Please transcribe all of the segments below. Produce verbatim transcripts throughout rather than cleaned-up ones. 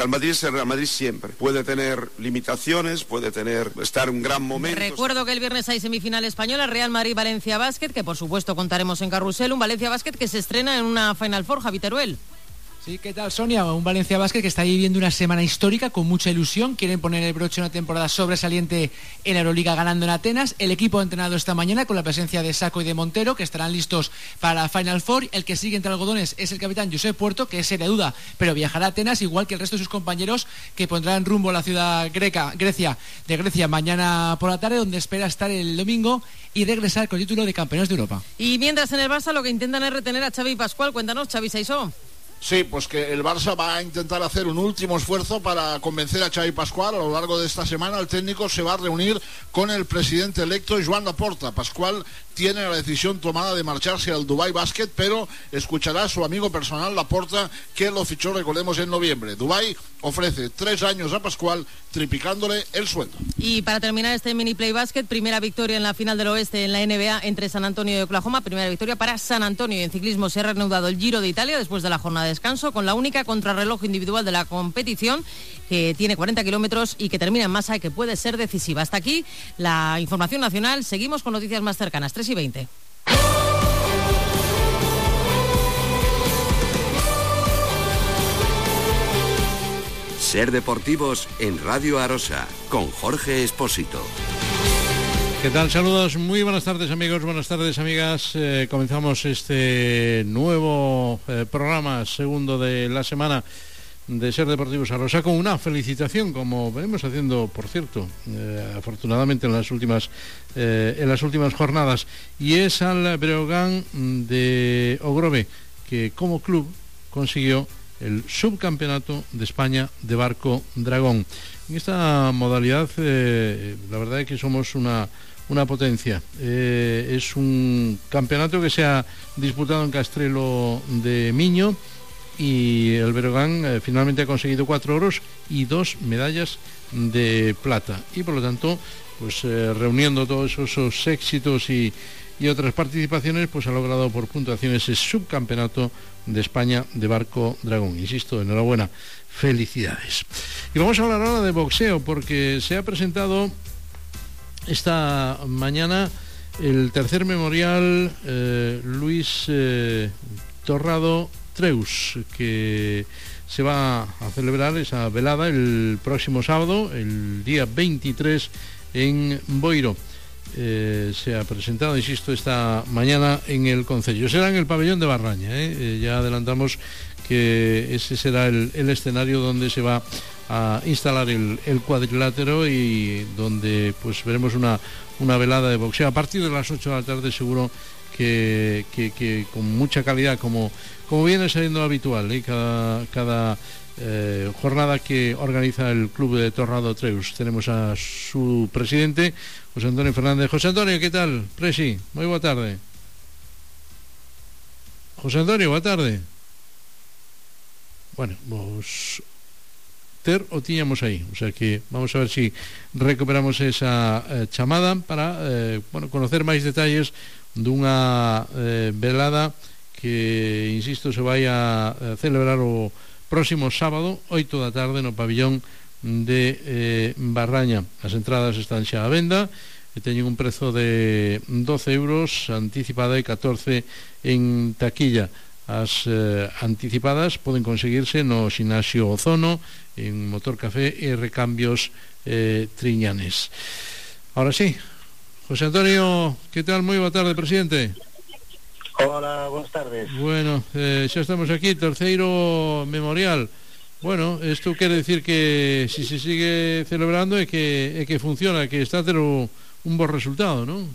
Real Madrid es el Real Madrid siempre. Puede tener limitaciones, puede tener estar en un gran momento. Recuerdo que el viernes hay semifinal española, Real Madrid-Valencia Basket, que por supuesto contaremos en Carrusel, un Valencia Basket que se estrena en una Final Four, Javi Teruel. Sí, ¿qué tal, Sonia? Un Valencia Basket que está viviendo una semana histórica con mucha ilusión. Quieren poner el broche a una temporada sobresaliente en la Euroliga ganando en Atenas. El equipo ha entrenado esta mañana con la presencia de Sacco y de Montero, que estarán listos para la Final Four. El que sigue entre algodones es el capitán Josep Puerto, que es seria duda, pero viajará a Atenas, igual que el resto de sus compañeros, que pondrán rumbo a la ciudad greca, Grecia, de Grecia mañana por la tarde, donde espera estar el domingo y regresar con el título de campeones de Europa. Y mientras en el Barça lo que intentan es retener a Xavi Pascual. Cuéntanos, Xavi Saisó. Sí, pues que el Barça va a intentar hacer un último esfuerzo para convencer a Xavi Pascual. A lo largo de esta semana el técnico se va a reunir con el presidente electo Joan Laporta. Pascual tiene la decisión tomada de marcharse al Dubai Basket, pero escuchará a su amigo personal Laporta, que lo fichó, recordemos, en noviembre. Dubai ofrece tres años a Pascual, triplicándole el sueldo. Y para terminar este mini play basket, primera victoria en la final del oeste en la N B A entre San Antonio y Oklahoma, primera victoria para San Antonio. Y en ciclismo se ha reanudado el Giro de Italia después de la jornada de descanso, con la única contrarreloj individual de la competición, que tiene cuarenta kilómetros y que termina en masa y que puede ser decisiva. Hasta aquí la información nacional. Seguimos con noticias más cercanas, tres y veinte. Ser Deportivos en Radio Arosa, con Jorge Espósito. ¿Qué tal? Saludos, muy buenas tardes amigos, buenas tardes amigas. Eh, comenzamos este nuevo eh, programa, segundo de la semana de Ser Deportivos Arosa, con una felicitación, como venimos haciendo, por cierto, eh, afortunadamente en las últimas eh, en las últimas jornadas, y es al Breogán de Ogrove, que como club consiguió el subcampeonato de España de barco dragón. En esta modalidad, eh, la verdad es que somos una, una potencia. Eh, es un campeonato que se ha disputado en Castrelo de Miño, y el Breogán eh, finalmente ha conseguido cuatro oros y dos medallas de plata. Y por lo tanto, pues eh, reuniendo todos esos, esos éxitos y, y otras participaciones, pues ha logrado por puntuación ese subcampeonato de España de barco dragón. Insisto, enhorabuena, felicidades. Y vamos a hablar ahora de boxeo, porque se ha presentado esta mañana el tercer memorial eh, Luis eh, Torrado Treus, que se va a celebrar esa velada el próximo sábado, el día veintitrés, en Boiro. Eh, se ha presentado, insisto, esta mañana en el concello. Será en el pabellón de Barraña, ¿eh? Eh, ya adelantamos que ese será el, el escenario donde se va a instalar el, el cuadrilátero, y donde pues veremos una, una velada de boxeo a partir de las ocho de la tarde, seguro que, que, que con mucha calidad, como, como viene saliendo habitual, ¿eh? cada, cada eh, jornada que organiza el Club de Torrado Treus. Tenemos a su presidente, José Antonio Fernández. José Antonio, ¿qué tal? Presi, muy buena tarde. José Antonio, buena tarde. Bueno, vos ter o tiñamos aí, o sea que vamos a ver si recuperamos esa eh, chamada para eh, bueno, conocer máis detalles dunha eh, velada que, insisto, se vai a, a celebrar o próximo sábado, oito da tarde, no pabellón de eh, Barraña. As entradas están xa á venda e teñen un prezo de doce euros anticipada e catorce en taquilla. As eh, anticipadas poden conseguirse no Xinasio Ozono, en Motor Café e Recambios eh, Triñanes. Ahora sí, José Antonio, ¿qué tal? Muy boa tarde, presidente. Hola, buenas tardes. Bueno, eh, xa estamos aquí, terceiro memorial. Bueno, isto quere decir que si se sigue celebrando é que, é que funciona, que está a ter o, un bo resultado, non?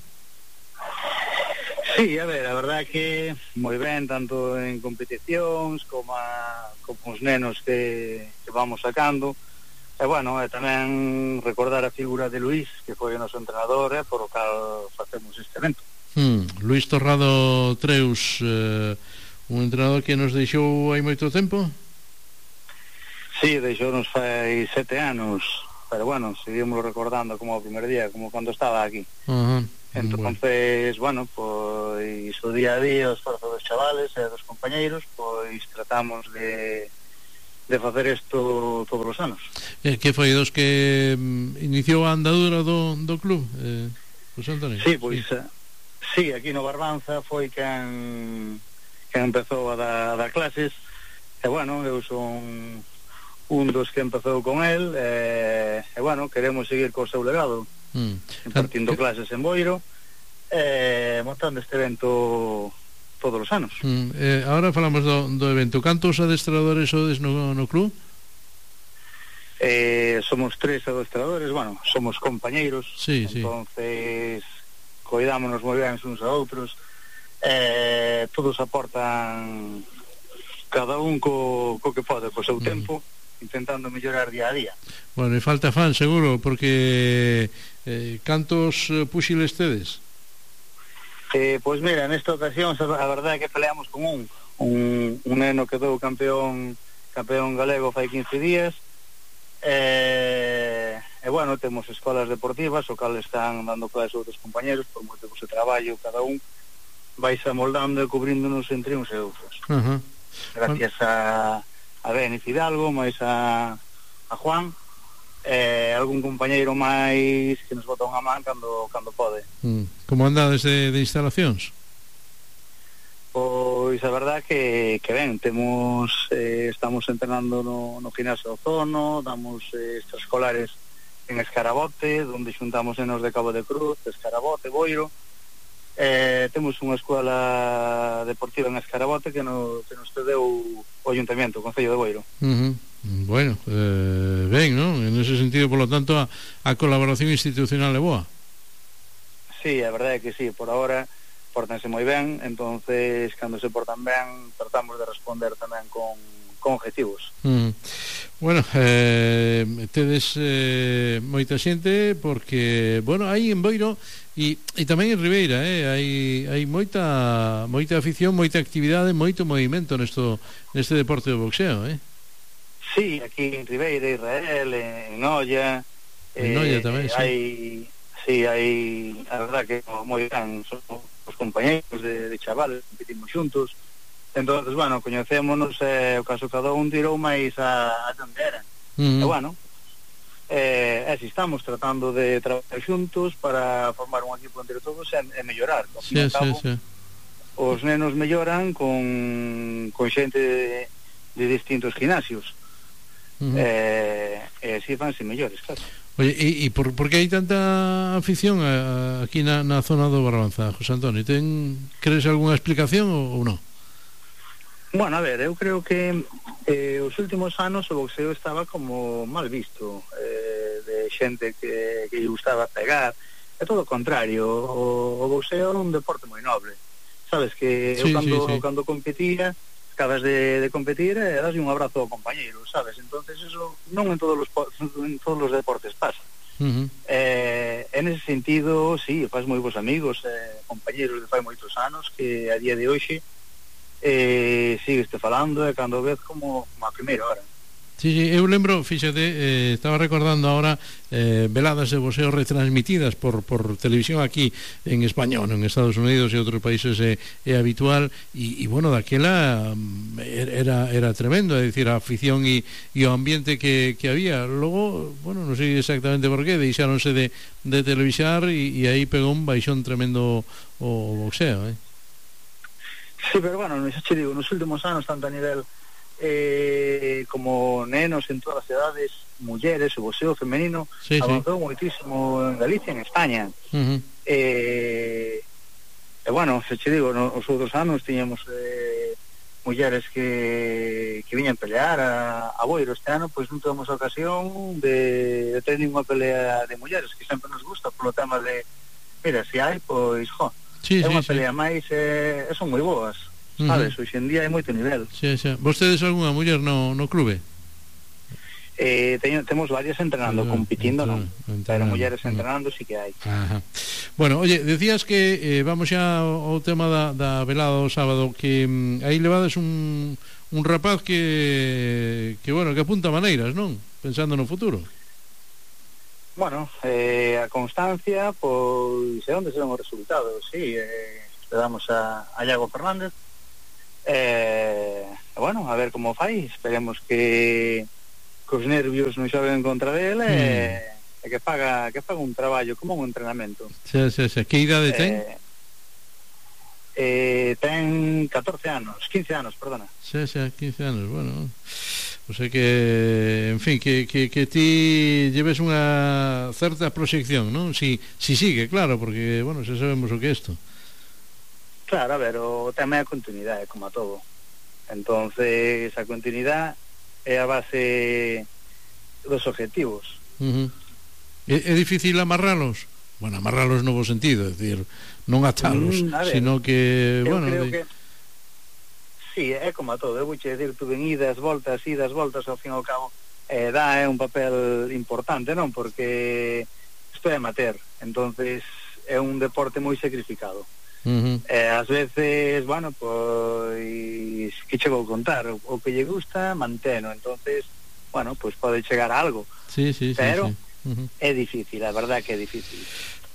Sí, a ver, a verdad que moi ben, tanto en competicións como, a, como os nenos que, que vamos sacando. E bueno, e tamén recordar a figura de Luís, que foi o noso entrenador, eh, por o cal facemos este evento. Hmm, Luís Torrado Treus, eh, un entrenador que nos deixou hai moito tempo? Sí, deixounos fai sete anos, pero bueno, seguimos recordando como o primer día, como cando estaba aquí. Ajá. Entonces, bueno, pois o día a día, o esforzo dos chavales e dos compañeiros, pois tratamos de, de facer isto todos os anos. Eh, que foi dos que mm, iniciou a andadura do, do club, eh, José Antonio? Sí, pois, sí. Uh, sí, aquí no Barbanza foi quen, quen empezou a dar, a dar clases, e bueno, eu son un dos que empezou con el, e, e bueno, queremos seguir co seu legado, mm. impartindo que... clases en Boiro, e montando este evento todos os anos. Mm, eh, ahora falamos do, do evento. Cantos adestradores sodes no, no club? Eh, somos tres adestradores, bueno, somos compañeiros, sí, entonces sí. Coidámonos moi ben uns a outros, eh, todos aportan cada un co, co que pode, co seu mm. tempo, intentando mellorar día a día. Bueno, e falta fan, seguro, porque eh, cantos puxiles tedes? Eh, pois mira, nesta ocasión a verdade é que peleamos con un un, un neno que quedou campeón campeón galego fai quince días, e, e bueno, temos escolas deportivas o cal están dando clases a outros compañeros por motivos de traballo, cada un vais amoldando e cubríndonos entre uns e outros. Uh-huh. Gracias a a Denis Hidalgo, máis a a Juan, eh, algún compañeiro máis que nos bota unha man cando, cando pode. Mm. Como andades de, de instalacións? Pois a verdad que, que ben, temos eh, estamos entrenando no, no gimnasio Ozono, damos eh, extraescolares en Escarabote, onde xuntamos nenos de Cabo de Cruz, de Escarabote, Boiro, eh, temos unha escola deportiva en Escarabote que, no, que nos cedeu o Ayuntamiento, o Concello de Boiro. Uh-huh. Bueno, eh, ben, ¿no? En ese sentido, por lo tanto, a, a colaboración institucional é boa. Sí, a verdade é que sí, por ahora portanse moi ben, entonces cando se portan ben tratamos de responder tamén con, con objetivos. Mm. Bueno, eh, tedes eh, moita xente porque, bueno, hai en Boiro e, e tamén en Ribeira, eh, hai, hai moita moita afición, moita actividade, moito movimento nesto, neste deporte do boxeo, eh? Sí, aquí en Ribeira, Israel, en Noia, en Noia eh, tamén, sí. Hai, sí, hai, a verdad que moi ben, somos os compañeros de, de chavales, competimos xuntos, entonces, bueno, coñecémonos, eh, o caso cada un tirou máis a, a tendera, uh-huh. e bueno, eh, así estamos tratando de traballar xuntos para formar un equipo entre todos e, e mellorar, ao sí, fin e cabo, sí, sí. Os nenos melloran con, con xente de, de distintos gimnasios, uh-huh. eh, e así fanse mellores, claro. Oye, e, e por, por que hai tanta afición a, a, aquí na, na zona do Barbanza, José Antonio? Ten, crees algunha explicación ou, ou non? Bueno, a ver, eu creo que eh, os últimos anos o boxeo estaba como mal visto, eh, de xente que, que lle gustaba pegar, é todo o contrario, o, o boxeo é un deporte moi noble, sabes, que sí, eu cando, sí, sí. cando competía, acabas de, de competir e das un abrazo ao compañeiro, sabes, entonces eso non en todos os, en todos os deportes pasa. Uh-huh. eh, en ese sentido, sí, faz moi bons amigos, eh, compañeros de fai moitos anos que a día de hoxe eh, sigueste falando e cando vez como, como a primeira hora. Sí, sí, eu lembro, fíxate, eh, estaba recordando ahora eh, veladas de boxeo retransmitidas por, por televisión aquí en español, en Estados Unidos e outros países é, é habitual e, e bueno, daquela era, era tremendo, é dicir, a afición e, e o ambiente que, que había. Logo, bueno, non sei exactamente por qué, deixáronse de, de televisar e, e aí pegou un baixón tremendo o boxeo, eh? Sí, pero bueno, xa che digo, nos últimos anos, tanto a nivel eh, como nenos en todas as edades, mulleres, o boxeo femenino sí, avanzou sí. moitísimo en Galicia, en España. Uh-huh. eh, e bueno, se che digo, nos outros anos tiñamos eh, mulleres que, que viñan pelear a, a Boiro. Este ano pois non temos a ocasión de, de ter ninguna pelea de mulleres, que sempre nos gusta polo tema de, mira, se hai, pois, jo, sí, é unha sí, pelea sí. máis, eh, son moi boas. Sabes, uh-huh. hoxe en día hai moito nivel. Sí, sí. Vostedes algunha muller no, no clube? Eh, teño, temos varias entrenando, sí, compitindo non, pero mulleres uh-huh. entrenando sí que hai. Ajá. Bueno, oye, decías que eh, vamos xa ao, ao tema da, da velada do sábado, que mm, aí levades un, un rapaz que que bueno, que apunta maneiras, non? Pensando no futuro. Bueno, eh, a constancia, pois é onde serán os resultados, sí, eh, esperamos a, a Iago Fernández. Eh, e bueno, a ver como fai, esperemos que cos nervios non xoven contra dele mm. e, e que faga que faga un traballo como un entrenamento. Sí, sí, sí. Que idade ten? Eh, eh, ten catorce anos, quince anos, perdona. Sí, sí, quince anos, bueno. O sea que, en fin, que, que, que ti lleves unha certa proxección, non? Si, si sigue, claro, porque, bueno, xa sabemos o que é isto. Claro, a ver, o tema é a continuidade, como a todo. Entonces, a continuidade é a base dos objetivos. Uh-huh. É, é difícil amarralos? Bueno, amarralos no bo sentido, é dicir, non atalos, mm, ver, sino que, eu bueno... creo de... que sí, é como a todo, eu vou che decir, tu ven idas, voltas, idas, voltas, ao fin e ao cabo, eh, dá é un papel importante, non? Porque isto é amateur, entonces é un deporte moi sacrificado. Uh-huh. Eh, ás veces, bueno, pois, que che vou contar? O, o que lle gusta, manteno, entonces, bueno, pois pode chegar a algo. Sí, sí, pero sí, sí. Uh-huh. É difícil, a verdad que é difícil.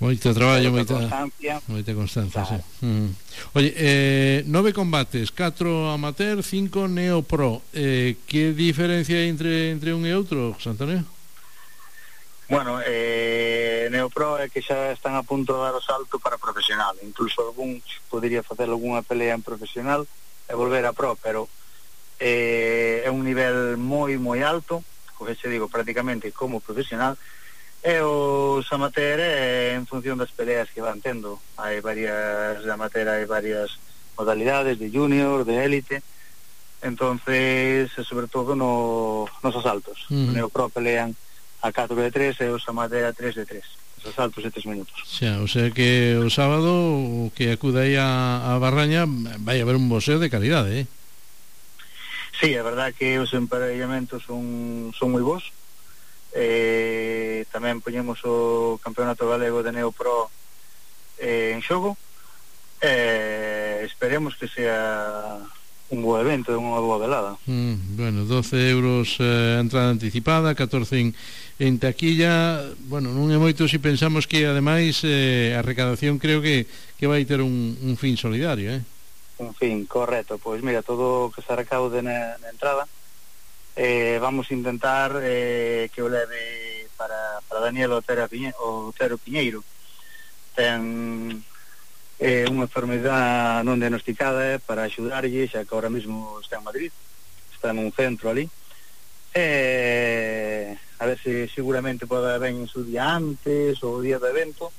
Moito traballo, moita constancia. Moita constancia, claro. Sí. Uh-huh. Oye, eh, nove combates, catro amateur, cinco neopro. Eh, que diferencia hai entre, entre un e outro, José Antonio? Bueno, eh, neopro é que xa están a punto de dar o salto para profesional. Incluso algún podería facer algunha pelea en profesional e volver a pro, pero eh, é un nivel moi, moi alto, o que se digo, prácticamente como profesional. E os amateur é en función das peleas que van tendo. Hai varias de amateur, hai varias modalidades de junior, de élite. Entonces, sobre todo no, nos asaltos. Uh-huh. O neopro pelean a catro de tres e os amateur a tres de tres. Os asaltos de tres minutos. Xa, o sea que o sábado o que acuda aí a, a Barraña vai haber un boxeo de calidade, eh? Sí, é verdad que os emparellamentos son, son moi bons. Eh, tamén poñemos o campeonato galego de neopro eh, en xogo, eh, esperemos que sea un bo evento, unha boa velada. mm, Bueno, doce euros eh, entrada anticipada, catorce en, en taquilla. Bueno, non é moito se pensamos que ademais eh, a recadación creo que, que vai ter un, un fin solidario, eh? Un fin, correcto. Pois mira, todo o que se recaude na, na entrada, Eh, vamos a intentar eh, que o leve para, para Daniel Otero, Piñe, Otero Piñeiro. Ten eh, unha enfermedade non diagnosticada, eh, para axudarlle, xa que ahora mesmo está en Madrid, está nun centro ali. Eh, a ver se seguramente pode ben en su día antes ou o día do evento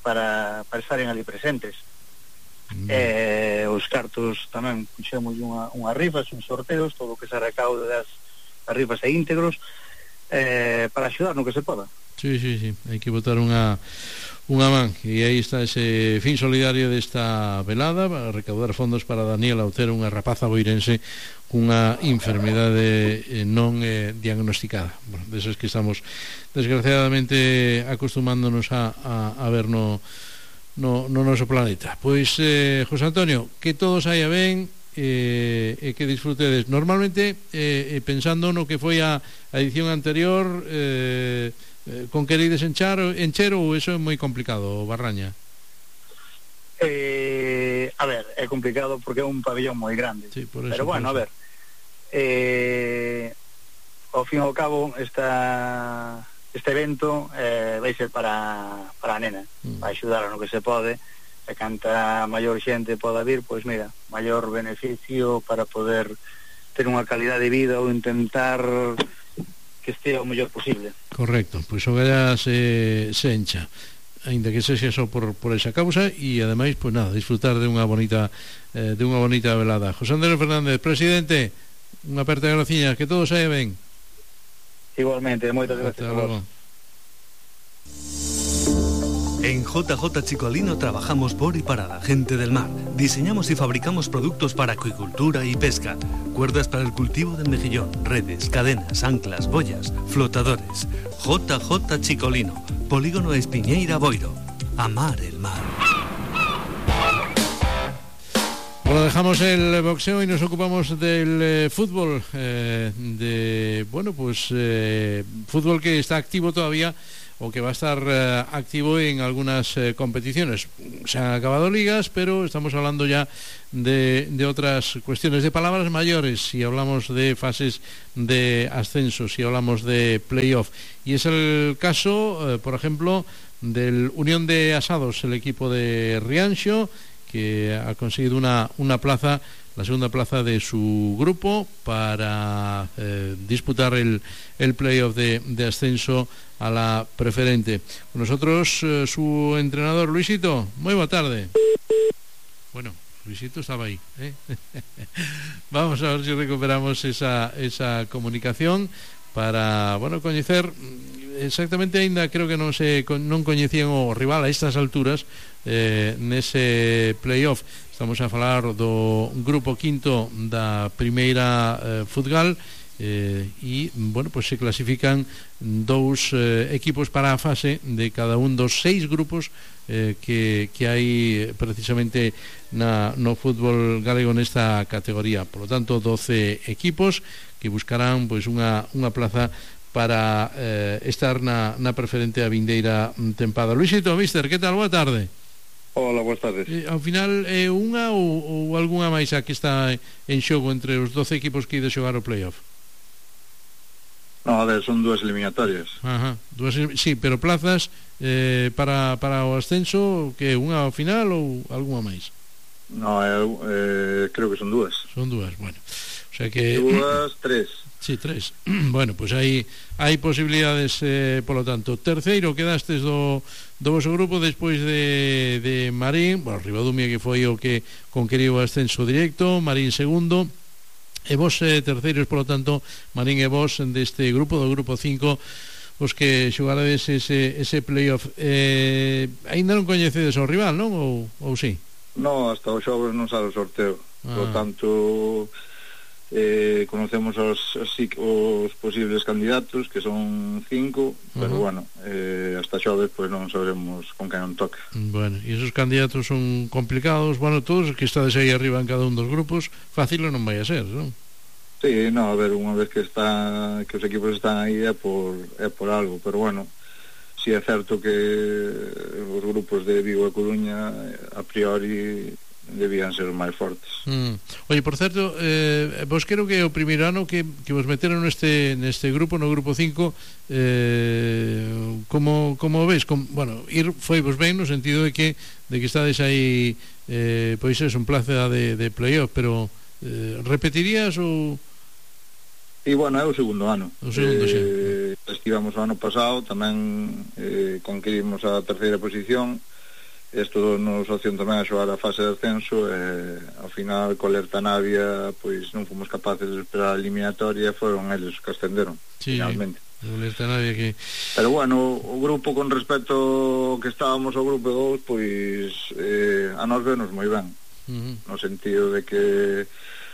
para, para estar ali presentes. Mm. Eh, os cartos tamén puxemos unha, unha rifas, uns sorteos, todo o que se recaude das arribas e íntegros, eh, para axudar no que se poda. Sí, sí, sí, hai que botar unha unha man, e aí está ese fin solidario desta velada para recaudar fondos para Daniela Otero, unha rapaza boirense cunha enfermedade eh, non eh, diagnosticada. Bueno, deses que estamos desgraciadamente acostumándonos a, a, a ver no, no, no noso planeta. Pois, eh, José Antonio, que todo saia ben, e eh, eh, que disfrutedes. Normalmente eh, eh, pensando no que foi a, a edición anterior, eh, eh, con querides enchar, encher ou eso é moi complicado, Barraña? Eh, a ver, é complicado porque é un pabellón moi grande, sí, por eso, pero bueno, a ver, eh, ao fin e ao cabo esta, este evento eh, vai ser para, para a nena, mm. para axudar a no que se pode. E canta maior xente poda vir, pois mira, maior beneficio para poder ter unha calidad de vida ou intentar que estea o mellor posible. Correcto, pois o galla se, se encha, ainda que sexa só por, por esa causa, e ademais, pois nada, disfrutar de unha bonita eh, de unha bonita velada. José Andrés Fernández, presidente, unha aperta de graciñas, que todo saia ben. Igualmente, moitas gracias a vos. En J J Chicolino trabajamos por y para la gente del mar. Diseñamos y fabricamos productos para acuicultura y pesca. Cuerdas para el cultivo del mejillón, redes, cadenas, anclas, boyas, flotadores. J J Chicolino, Polígono Espiñeira Boiro. Amar el mar. Bueno, dejamos el boxeo y nos ocupamos del eh, fútbol. Eh, de, bueno, pues eh, fútbol que está activo todavía o que va a estar eh, activo en algunas eh, competiciones. Se han acabado ligas, pero estamos hablando ya de, de otras cuestiones, de palabras mayores, si hablamos de fases de ascenso, si hablamos de playoff. Y es el caso, eh, por ejemplo, del Unión de Asados, el equipo de Rianxo, que ha conseguido una, una plaza, la segunda plaza de su grupo para eh, disputar el, el playoff de, de ascenso a la preferente. Con nosotros eh, su entrenador, Luisito. Muy buena tarde. Bueno, Luisito estaba ahí, ¿eh? Vamos a ver si recuperamos esa, esa comunicación para, bueno, coñecer exactamente, ainda creo que non se non coñecían o rival a estas alturas eh, nese playoff. Estamos a falar do grupo quinto da primeira eh, Futgal eh, e, bueno, pues se clasifican dous eh, equipos para a fase de cada un dos seis grupos eh, que, que hai precisamente na, no fútbol galego nesta categoría. Por lo tanto, doce equipos que buscarán pois unha, unha plaza para eh, estar na, na preferente a vindeira tempada. Luisito, mister, que tal? Boa tarde. Hola, boas tardes. Eh, ao final, é eh, unha ou, ou algunha máis a que está en xogo entre os doce equipos que ide xogar o playoff? No, a ver, son dúas eliminatorias. Ajá, dúas, sí, pero plazas eh, para, para o ascenso, que unha ao final ou algunha máis? No, eh, eh, creo que son dúas. Son dúas, bueno. O sea que... Dúas, tres. Sí, tres. Bueno, pues hai hai posibilidades, eh, polo tanto. Terceiro, quedastes do, do vosso grupo despois de, de Marín, bueno, Ribadumia, que foi o que conqueriu o ascenso directo, Marín segundo, e vos eh, terceiros, polo tanto, Marín e vos deste grupo, do grupo cinco, os que xogarades ese, ese playoff. Eh, ainda non coñecedes o rival, non? Ou, ou sí? No, hasta o xoves non sale o sorteo. Ah. Por tanto... Eh, conocemos os, os, os posibles candidatos, que son cinco, pero uh-huh. bueno, eh, hasta xoves pues non sabremos con quen non toca. Bueno, e esos candidatos son complicados, bueno, todos os que estades aí arriba en cada un dos grupos, fácil non vai a ser, non? Sí, no, a ver, unha vez que está que os equipos están aí é por, é por algo, pero bueno, si é certo que os grupos de Vigo e Coruña a priori debían ser os máis fortes. Mm. Oye, por certo, eh, vos creo que o primeiro ano que, que vos meteron neste, neste grupo, no grupo cinco, eh, como, como veis, com, bueno, ir foi vos ben no sentido de que de que estades aí eh, pois é un plaza de, de playoff, pero eh, repetirías ou... E bueno, é o segundo ano. O segundo, eh, sí. Estivamos o ano pasado, tamén eh, conquirimos a terceira posición. Isto nos opción tamén a xogar a fase de ascenso e ao final co Lerta Navia pois non fomos capaces de esperar a eliminatoria, foron eles que ascenderon, sí, finalmente. O Lerta Navia que... Pero bueno, o grupo con respecto que estábamos ao grupo dous, pois eh, a nos venos moi ben, uh-huh. no sentido de que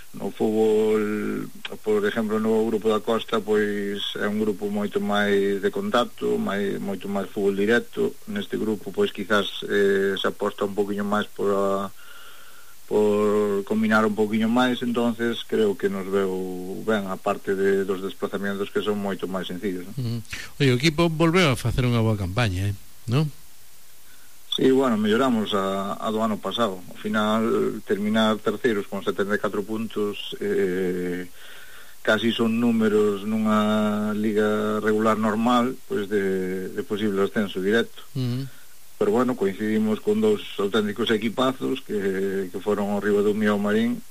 no fútbol, por exemplo, no grupo da Costa, pois é un grupo moito máis de contacto, máis, moito máis fútbol directo. Neste grupo, pois quizás eh, se aposta un poquinho máis por a, por combinar un poquinho máis, entonces creo que nos veu ben, a parte de, dos desplazamentos que son moito máis sencillos, ¿no? Uh-huh. Oye, o equipo volveu a facer unha boa campaña, eh? non? Sí, bueno, melloramos a, a do ano pasado. Ao final, terminar terceiros con setenta e catro puntos eh, casi son números nunha liga regular normal, pois de, de posible ascenso directo. Uh-huh. Pero bueno, coincidimos con dous auténticos equipazos que, que foron o Ribadumia e o Marín.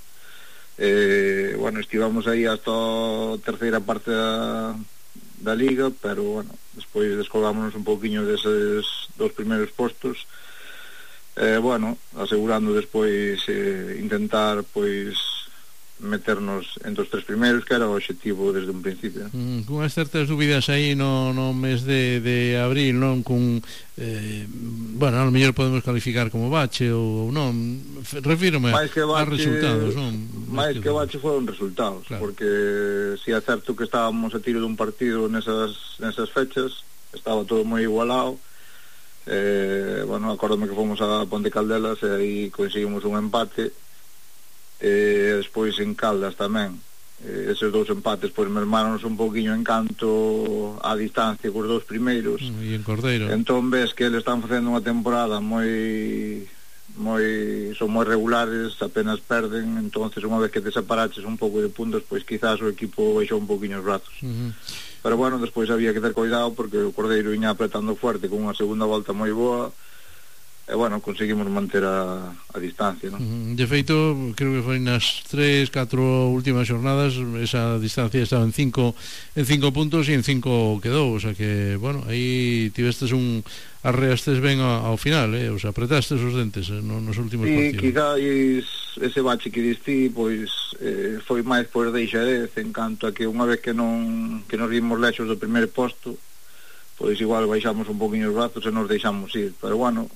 Eh, bueno, estivamos aí hasta a terceira parte da, da liga, pero bueno, despois descolgámonos un pouquiño deses dos primeiros postos. Eh, bueno, asegurando despois eh, intentar pois meternos entre os tres primeiros, que era o obxectivo desde un principio. Mm, con as certas dúbidas aí no, no mes de, de abril, non? Con, eh, bueno, a lo mellor podemos calificar como bache ou non, refírome a resultados, non? máis que bache foron resultados, claro. Porque si é certo que estábamos a tiro dun partido nesas, nesas fechas, estaba todo moi igualado. Eh, bueno, acórdame que fomos a Ponte Caldelas e aí conseguimos un empate, e despois en Caldas tamén eh, eses dous empates pois mermaronnos un poquinho en canto a distancia cos dous primeiros, e en Cordeiro entón ves que eles están facendo unha temporada moi moi son moi regulares, apenas perden, entonces unha vez que te separaches un pouco de puntos, pois quizás o equipo baixou un poquinho os brazos. Uh-huh. Pero bueno, despois había que ter cuidado porque o Cordeiro viña apretando fuerte con unha segunda volta moi boa. E, bueno, conseguimos manter a, a distancia, ¿no? De feito, creo que foi nas tres, catro últimas jornadas esa distancia estaba en cinco en cinco puntos e en cinco quedou, o sea que, bueno, aí tivestes un arreastes ben ao, ao final, eh? O sea, apretastes os dentes eh, no, nos últimos sí, partidos. E quizás ese bache que diste, pois eh, foi máis por deixadez, en canto a que unha vez que non que nos vimos lexos do primeiro posto, pois igual baixamos un poquinho os brazos e nos deixamos ir, pero bueno,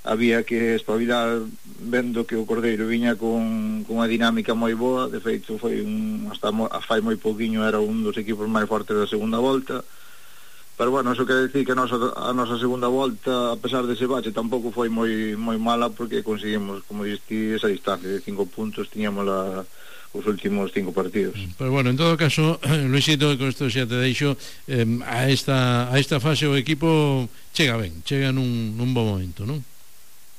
había que espabilar vendo que o Cordeiro viña con, con unha dinámica moi boa. De feito foi un, hasta mo, fai moi pouquiño era un dos equipos máis fortes da segunda volta, pero bueno, eso quere decir que a nosa, a nosa segunda volta, a pesar dese bache, tampouco foi moi moi mala, porque conseguimos, como diste, esa distancia de cinco puntos, tiñamos la, os últimos cinco partidos. Pero bueno, en todo caso, Luisito, con isto xa te deixo, eh, a esta a esta fase o equipo chega ben, chega nun, nun bon momento, non?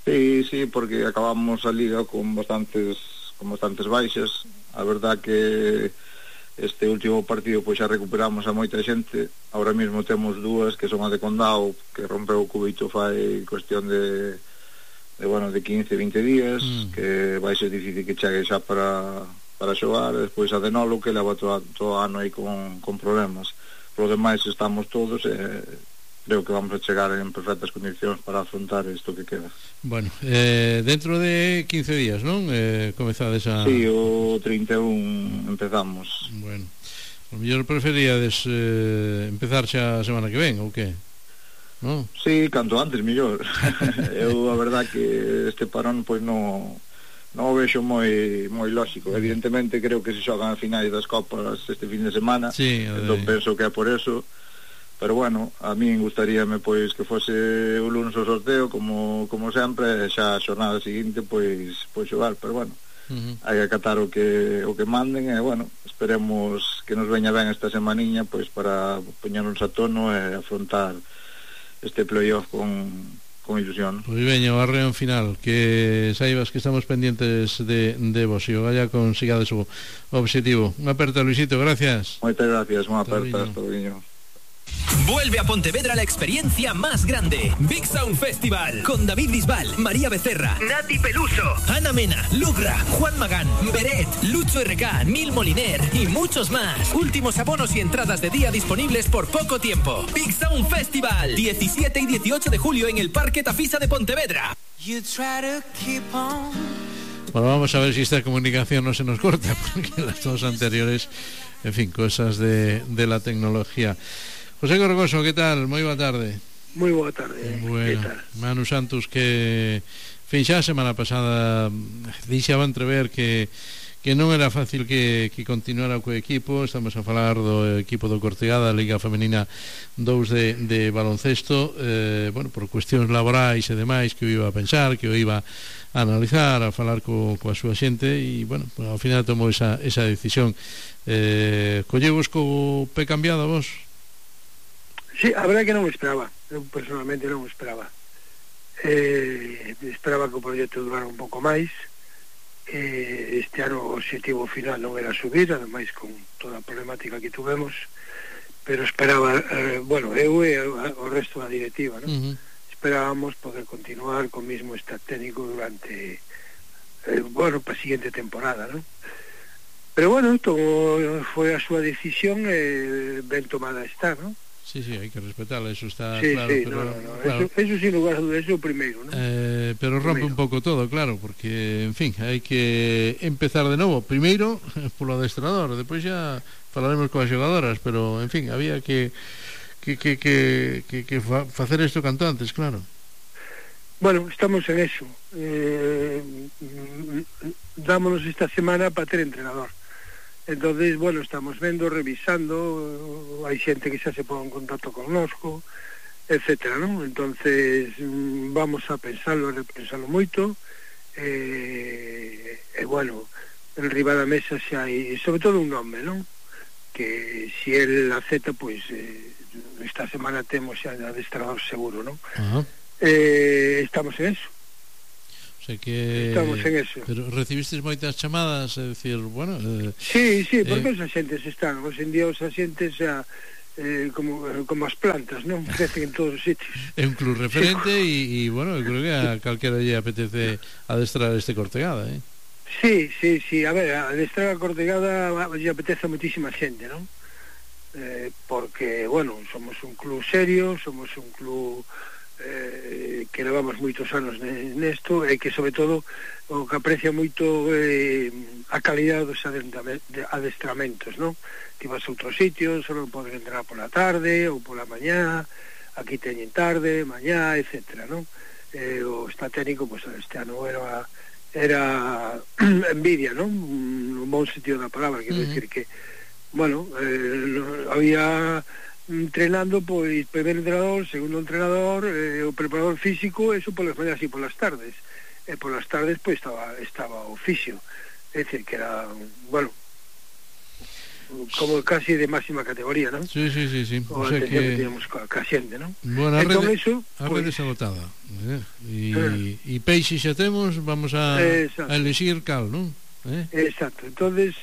Sí, sí, porque acabamos a liga con bastantes con bastantes baixas. A verdad que este último partido pois xa recuperamos a moita xente. Ahora mesmo temos dúas que son a de Condao, que rompeu o cubito fai cuestión de de bueno, de quince, vinte días, mm. que vai ser difícil que chegue xa para para xogar. Despois a de Nolo, que leva todo, todo ano aí con, con problemas. Por lo demais estamos todos e eh, creo que vamos a chegar en perfectas condicións para afrontar isto que queda. Bueno, eh, dentro de quince días, non? Eh, comezades a... Sí, o trinta e un empezamos. Bueno, o mellor preferíades eh, empezar xa a semana que ven, ou que? No? Sí, canto antes, mellor. Eu, a verdad que este parón, pois, non non o vexo moi moi lógico. Evidentemente, creo que se xogan a finais das copas este fin de semana, sí, entón penso que é por eso. Pero bueno, a min gustaríame pois que fose o lunes o sorteo como como sempre, xa a xornada seguinte pois pois xogar, pero bueno, uh-huh. hai que acatar o que o que manden e bueno, esperemos que nos veña ben esta semaniña pois para poñernos a tono e afrontar este playoff con con ilusión. Pois veña o arreo final, que saibas que estamos pendientes de, de vos e o vaya consigades o objetivo. Unha aperta, Luisito, gracias. Moitas gracias, unha aperta, hasta luego. Vuelve a Pontevedra la experiencia más grande. Big Sound Festival con David Bisbal, María Becerra, Nati Peluso, Ana Mena, Lugra, Juan Magán, Beret, Lucho R K, Nil Moliner y muchos más. Últimos abonos y entradas de día disponibles por poco tiempo. Big Sound Festival, diecisiete y dieciocho de julio en el Parque Tafisa de Pontevedra. Bueno, vamos a ver si esta comunicación no se nos corta, porque las dos anteriores, en fin, cosas de, de la tecnología. José Gorgoso, ¿qué tal? Moi boa tarde. Moi boa tarde. Bueno, Manu Santos, que fin, xa a semana pasada deixaba entrever que que non era fácil que, que continuara co equipo. Estamos a falar do equipo do Cortegada, Liga Femenina dous de, de baloncesto, eh, bueno, por cuestións laborais e demais, que o iba a pensar, que o iba a analizar, a falar co, coa súa xente, e bueno, ao final tomou esa, esa decisión. Eh, collevos co pé cambiado a vos? Sí, a verdade que non me esperaba. Eu personalmente non me esperaba. Eh, esperaba que o proxecto durara un pouco máis. Eh, este ano o objetivo final non era subir, ademais con toda a problemática que tuvemos, pero esperaba, eh, bueno, eu e o resto da directiva, ¿no? Uh-huh. Esperábamos poder continuar con o mismo staff técnico durante, eh, bueno, para a seguinte temporada, ¿no? Pero bueno, todo foi a súa decisión e eh, ben tomada está, ¿no? Sí, sí, hai que respetarla, eso está sí, claro, sí, pero, no, no, no. Claro. Eso, eso sin lugar a dudas, eso é o primeiro, ¿no? Eh, pero rompe un pouco todo, claro, porque, en fin, hai que empezar de novo. Primeiro, polo adestrador, depois xa falaremos coas xogadoras, pero, en fin, había que que, que, que, que, que fa, facer isto canto antes, claro. Bueno, estamos en eso. Eh, dámonos esta semana para ter entrenador. Entonces, bueno, estamos vendo, revisando, hai xente que xa se pon en contacto connosco, etcétera, ¿no? Entonces, vamos a pensarlo, a repensarlo moito, e, eh, eh, bueno, en riba da mesa xa hai, sobre todo un nome, non? Que si el acepta, pois eh, esta semana temos xa adestrador seguro, non? Ajá. Eh, estamos en eso. O sea que estamos en eso. Pero recibisteis moitas chamadas, é dicir, bueno, eh, sí, sí, porque eh, os axentes están, os en día os axentes xa eh, como, como as plantas, non? Crecen en todos os sitios. É un club referente e, sí. bueno, eu creo que a calquera lle apetece adestrar este Cortegada, eh? Sí, sí, sí, a ver, adestrar a Cortegada lle apetece a moitísima xente, non? Eh, porque, bueno, somos un club serio, somos un club eh, que levamos moitos anos nesto e que sobre todo o que aprecia moito eh, a calidade dos adestramentos, non? Ti vas a outros sitios, só poden entrar pola tarde ou pola mañá, aquí teñen tarde, mañá, etcétera, non? Eh, o está técnico, pois pues, este ano era era envidia, non? Un bon sentido da palabra, quero uh -huh. decir que bueno, eh, había entrenando pois primeiro entrenador, segundo entrenador, eh, o preparador físico, eso polas mañas e polas tardes. E polas tardes pois estaba estaba o fisio. É dicir que era, bueno, como casi de máxima categoría, non? Sí, sí, sí, sí. O, o sea que teníamos ca, ca xente, non? Bueno, a rede, eso, a rede pues, agotada. Eh? E, e peixe xa temos, vamos a, a elegir cal, non? Eh? Exacto. Entonces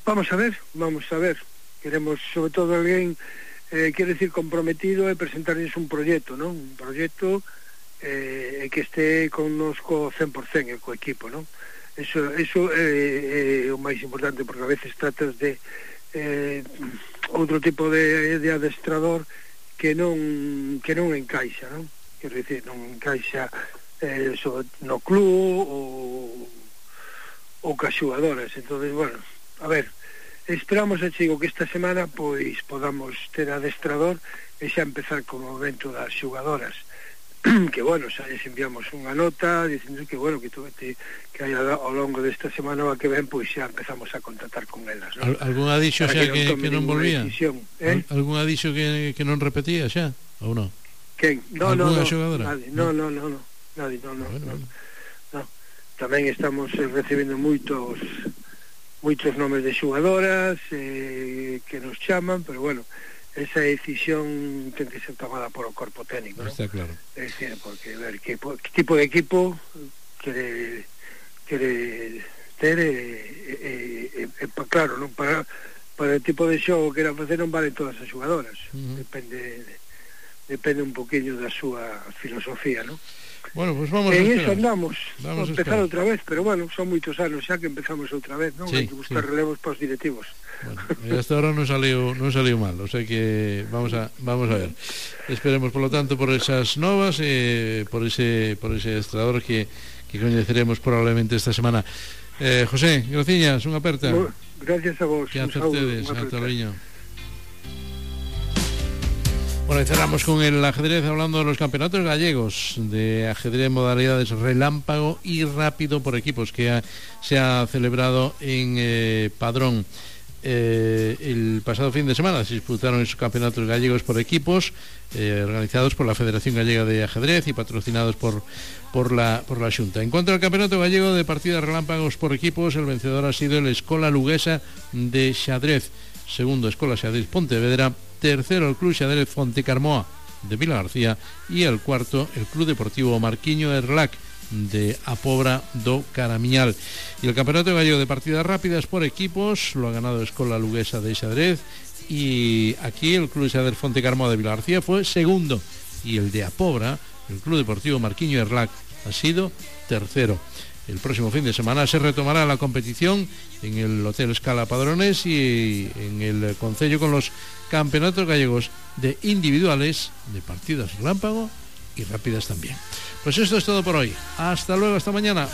vamos a ver, vamos a ver. Queremos, sobre todo, alguén eh, quere decir comprometido e presentarles un proxecto, non? Un proxecto eh, que este connosco cen por cen co equipo, non? Eso, eso é, é o máis importante, porque a veces tratas de eh, outro tipo de, de adestrador que non que non encaixa, non? Quero dicir, non encaixa eh, sobre, no club ou ou cas xugadoras. Entonces, bueno, a ver, esperamos, a chico, que esta semana pois podamos ter adestrador e xa empezar con o evento das xugadoras, que bueno, xa les enviamos unha nota dicindo que bueno, que, tu, que, que hai ao longo desta semana que ven, pois xa empezamos a contactar con elas, non? Algún adixo xa que, que non volvía? Eh? Algún adixo que, que non repetía xa, ou non? Quen? No, no, no, nadie, no, no, no, no, nadie, no, no, bueno, no, bueno. no. Tamén estamos eh, recibindo moitos moitos nomes de xugadoras eh, que nos chaman, pero bueno, esa decisión ten que ser tomada por o corpo técnico, ¿no? Está claro. Es decir, porque ver que, que tipo de equipo quere quere ter e, e, e, e, claro, non para para o tipo de xogo que era facer non valen todas as xugadoras. Uh-huh. Depende depende un poquinho da súa filosofía, ¿no? Bueno, pues vamos e a esperar. eso andamos, vamos a empezar outra vez, pero bueno, son moitos anos xa que empezamos outra vez, non? Sí, hai que buscar sí. relevos para os directivos. Bueno, hasta ahora non saliu non saliu mal, o sea que vamos a vamos a ver. Esperemos, por lo tanto, por esas novas eh, por ese por ese estrador que que coñeceremos probablemente esta semana. Eh, José, graciñas, unha aperta. Bueno, gracias a vos. Que acertedes, ata loiño. Bueno, y cerramos con el ajedrez hablando de los campeonatos gallegos de ajedrez en modalidades relámpago y rápido por equipos que ha, se ha celebrado en eh, Padrón. Eh, el pasado fin de semana se disputaron esos campeonatos gallegos por equipos eh, organizados por la Federación Gallega de Ajedrez y patrocinados por, por, la, por la Xunta. En cuanto al campeonato gallego de partidas relámpagos por equipos, el vencedor ha sido el Escola Luguesa de Xadrez, segundo Escola Xadrez Pontevedra, tercero el Club Xadrez Fontecarmoa de Vila García y el cuarto el Club Deportivo Marquiño Erlac de A Pobra do Caramiñal. Y el campeonato gallego de partidas rápidas por equipos lo ha ganado Escola Luguesa de Xadrez, y aquí el Club Xadrez Fontecarmoa de Vila García fue segundo, y el de A Pobra, el Club Deportivo Marquiño Erlac, ha sido tercero. El próximo fin de semana se retomará la competición en el Hotel Scala Padrones y en el concello con los campeonatos gallegos de individuales, de partidas relámpago y rápidas también. Pues esto es todo por hoy. Hasta luego, hasta mañana.